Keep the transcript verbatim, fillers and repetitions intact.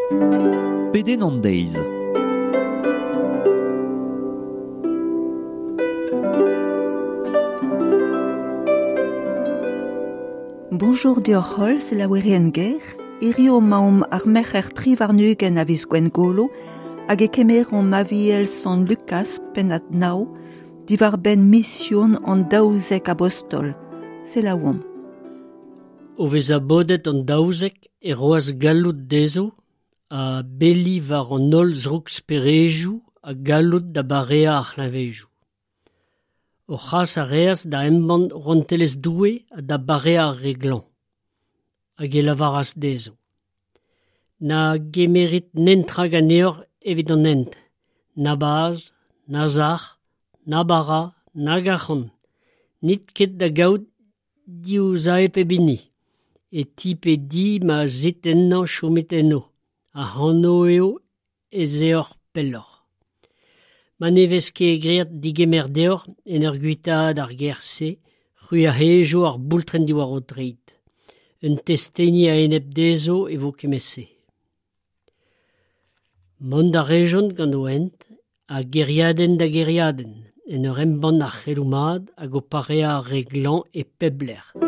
Pedenn an deiz. Bonjour deoc'h holl, selaouerien ger. Hirio 'maomp ar merc'her tri warn-ugent a viz Gwengolo hag e kemeromp Aviel Sant Lukas pennad nav diwar-benn mision an daouzek abostol. Selaouomp. O vezañ bodet an daouzek e roas galloud dezho ha beli war an holl zrouk-speredoù ha galloud da bareañ ar c'hleñvedoù. O c'has a reas da embann rouantelezh Doue ha da bareañ ar re glañv. Hag e lavaras dezho. Na gemerit netra ganeoc'h evit an hent, na bazh, na sac'h, na bara, nag arc'hant. N'it ket da gaout div sae pep hini. E ti pe di ma 'z it ennañ chomit eno. Ac'hano eo ez eoc'h pelloc'h. Ma ne vez ket graet degemer deoc'h en ur guitaat ar gêr-se, c'hwi a hejo ar boultrenn diwar ho treid. Un testeni a-enep dezho e vo kement-se. Mont a rejont gant o hent, a gêriadenn da gêriadenn, en ur embann ar c'heloù mat hag o pareañ ar re glañv e pep lec'h.